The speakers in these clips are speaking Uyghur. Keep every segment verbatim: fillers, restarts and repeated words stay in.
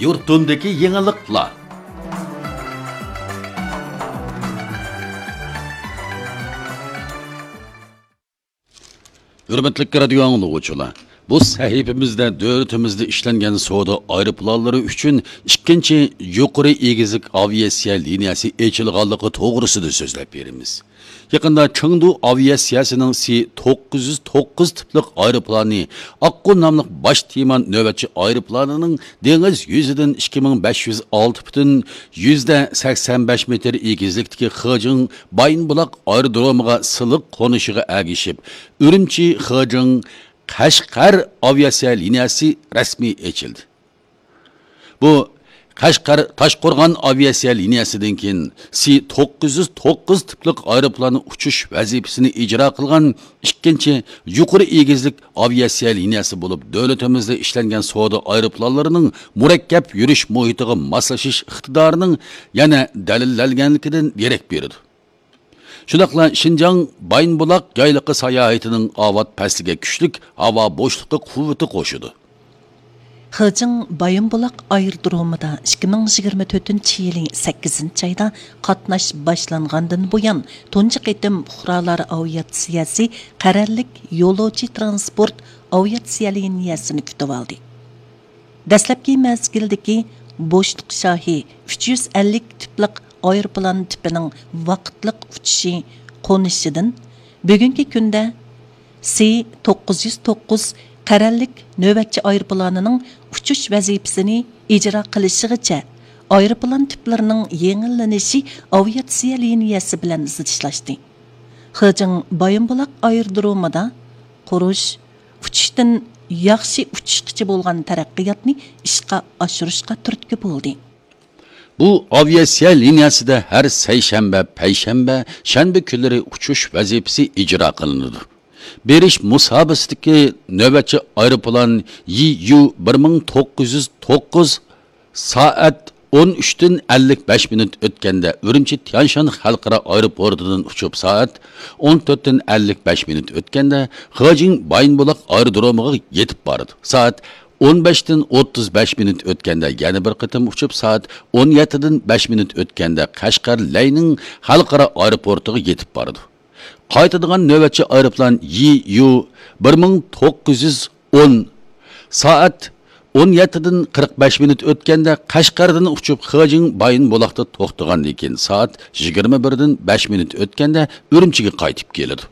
يۇرتۇمدىكى يېڭىلىقلار. ھۆرمەتلىك رادىيو ئاڭلىغۇچىلار، بۇ سەھىپىمىزدە دۆلىتىمىزدە ئىشلەنگەن سودا ئايروپىلانلىرى ئۈچۈن ئىككىنچى يۇقىرى ئېگىزلىك ئاۋىئاتسىيە لىنىيەسى ئېچىلغانلىقى توغرىسىدا سۆزلەپ بېرىمىز. يېقىندا چېڭدۇ ئاۋىئاتسىيەسىنىڭ سى توققۇز يۈز توققۇز تىپلىق ئايروپىلانى، ئاققۇ ناملىق باش تېما نۆۋەتچى ئايروپىلانىنىڭ دېڭىز يۈزىدىن ئىككى مىڭ بەش يۈز ئالتە پۈتۈن يۈزدە سەكسەن بەش مېتىر ئېگىزلىكتىكى خېجىڭ بايىنبۇلاق ئايرودرومىغا سىلىق قونۇشىغا ئەگىشىپ، ئۈرۈمچى خېجىڭ قەشقەر ئاۋىئاتسىيە لىنىيەسى رەسمىي ئېچىلدى. بۇ قەشقەر تاشقورغان ئاۋىئاتسىيە لىنىيەسىدىن كېيىن سى توققۇز يۈز توققۇز تىپلىق ئايروپىلان ئۇچۇش ۋەزىپىسىنى ئىجرا قىلغان ئىككىنچى يۇقىرى ئېگىزلىك ئاۋىئاتسىيە لىنىيەسى بولۇپ، دۆلىتىمىزدە ئىشلەنگەن سودا ئايروپىلانلىرىنىڭ مۇرەككەپ يۈرۈش مۇھىتىغا ماسلىشىش ئىقتىدارىنىڭ يەنە دەلىللەنگەنلىكىدىن دېرەك بېرىدۇ. شۇنداقلا شىنجاڭ بايىنبۇلاق يايلىقى ساياھىتىنىڭ ئاۋات پەسلىگە كۈچلۈك ھاۋا بوشلۇقى قۇۋۋىتى قوشىدۇ. خېجىڭ بايىنبۇلاق ئايرودرومىدا ئىككى مىڭ يىگىرمە تۆتىنچى يىلى سەككىزىنچى ئايدا قاتناش باشلانغاندىن بۇيان، تۇنجى قېتىم پۇقرالار ئاۋىئاتسىيەسى قەرەللىك يولۇچى تىرانسپورت ئاۋىئاتسىيە لىنىيەسىنى كۈتۈۋالدى. دەسلەپكى مەزگىلدىكى بوشلۇق شاھى ئۈچ يۈز ئەللىك تىپلىق ئايروپىلان تىپىنىڭ ۋاقىتلىق ئۇچۇشى قونۇشىدىن بۈگۈنكى كۈندە سى توققۇز يۈز توققۇز قەرەللىك نۆۋەتچى ئايروپىلانىنىڭ ئۇچۇش ۋەزىپىسىنى ئىجرا قىلىشىغىچە ئايروپىلان تىپلىرىنىڭ يېڭىلىنىشى ئاۋىئاتسىيە لىنىيەسى بىلەن زىچلاشتى. خېجىڭ بايىنبۇلاق ئايرودرومىدا قۇرۇش، ئۇچۇشتىن ياخشى ئۇچۇشقىچە بولغان تەرەققىياتنى ئىشقا ئاشۇرۇشقا تۈرتكە بولدى. بۇ ئاۋىئاتسىيە لىنىيەسىدە ھەر سەيشەنبە، پەيشەنبە، شەنبە كۈنلىرى ئۇچۇش ۋەزىپىسى ئىجرا قىلىنىدۇ. بېرىش مۇساپىسىدىكى نۆۋەتچى ئايروپىلان يى يۇ بىر مىڭ توققۇز يۈز توققۇز سائەت ئون ئۈچتىن ئەللىك بەش مىنۇت ئۆتكەندە ئۈرۈمچى تيەنشان خەلقئارا ئايروپورتىدىن ئۇچۇپ، سائەت ئون تۆتتىن ئەللىك بەش مىنۇت ئۆتكەندە خېجىڭ بايىنبۇلاق ئايرودرومىغا يېتىپ بارىدۇ. سائەت ئون بەشتىن ئوتتۇز بەش مىنۇت ئۆتكەندە يەنە بىر قېتىم ئۇچۇپ، سائەت ئون يەتتىدىن بەش مىنۇت ئۆتكەندە قەشقەر لەينىڭ خەلقئارا ئايروپورتىغا يېتىپ بارىدۇ. قايتىدىغان نۆۋەتچى ئايروپىلان يى يۇ بىر مىڭ توققۇز يۈز ئون سائەت ئون يەتتىدىن قىرىق بەش مىنۇت ئۆتكەندە قەشقەردىن ئۇچۇپ، خېجىڭ بايىنبۇلاقتا توختىغاندىن كېيىن، سائەت يىگىرمە بىردىن بەش مىنۇت ئۆتكەندە ئۈرۈمچىگە قايتىپ كېلىدۇ.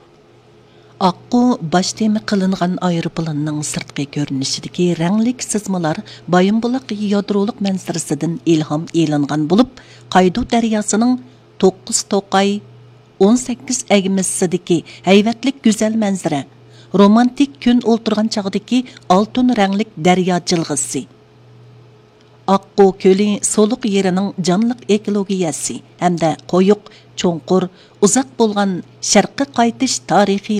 ئاققۇ باش تېما قىلىنغان ئايروپىلاننىڭ سىرتقى كۆرۈنۈشىدىكى رەڭلىك سىزمىلار بايىنبۇلاق يادرولۇق مەنزىرىسىدىن ئىلھام ئېلىنغان بولۇپ، قايدۇ دەرياسىنىڭ توققۇز توقاي، ئون سەككىز ئەگمىسىدىكى ھەيۋەتلىك گۈزەل مەنزىرە، رومانتىك كۈن ئولتۇرغان چاغدىكى ئالتۇن رەڭلىك دەريا جىلغىسى، ئاققۇ كۆلى سولۇق يېرىنىڭ جانلىق ئېكولوگىيەسى ھەمدە قويۇق، چوڭقۇر، ئۇزاق بولغان شەرققە قايتىش تارىخىي